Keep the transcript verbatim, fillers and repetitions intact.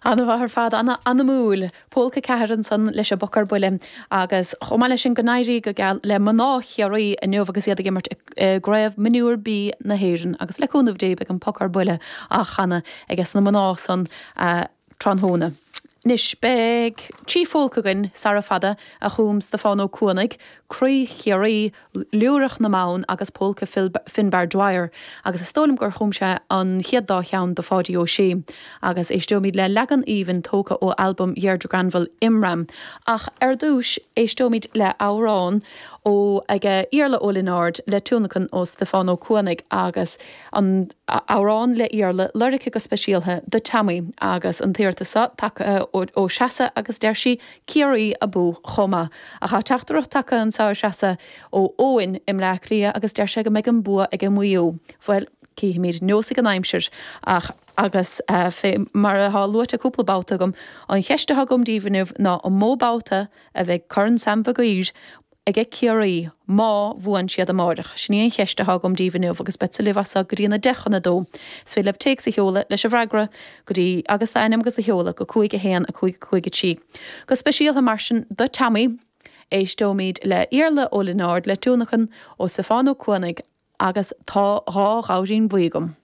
An-mhaith ar fad, an-anamúil. Pólca ceathair ansan leis an bPoc ar Buile agus chomh maith leis sin go n-éirí go geal le mná Chiarraí inniu agus iad ag imirt i gCraobh Mionúr B na hÉireann agus le cúnamh Dé beidh an Poc ar Buile á chanadh aige na mná san tráthnóna. Anois beidh trí phólca againn sara fada a chum Stiofán Ó Cuanaigh, Croí Chiarraí, Liúireach na mBan agus Pólca Finbar Dwyer, agus is dóigh liom gur chum sé an chéad dá cheann do Pháidí Ó Sé. Agus éisteoimid le leagan aoibhinn tógtha ó albam Dheirdre Granville Imram. Ach ar dtús éisteoimid le amhrán ó ag Iarla Ó Lionáird le tionlacan ó Stiofán Ó Cuanaigh agus an amhrán le Iarla lorgtha go speisialta do Tommy agus an t-iarratas seo tagtha ó Threasa agus deir sí Ciarraí abú chomh maith. Ach tá teachtaireacht tagtha anseo a Threasa ó Eoin i mBleá Cliath agus deir sé go mbeidh an bua ag an Maigh Eo. Bhuel cífimid neosfaidh an aimsir ach agus uh, fé mar atá luaite cúpla babhta agam an cheist atá agam daoibh inniu ná an mó babhta a bheidh Corn Sam Mhig Uidhir ag Ciarraí má bhuann siad amárach. Sin í an cheist atá agam daoibh inniu agus beidh libh as go dtí na deich chun a dó. Is féidir libh téacs a sheoladh leis an bhfreagra go dtí agus d'ainm agus do sheoladh go cúig a haon a cúig cúig a trí. Go speisialta mar sin do Tommy éisteoimid le Iarla Ó Lionáird le tionlacan ó Stiofán Ó Cuanaigh agus tá dhá ghamhairín buí agam.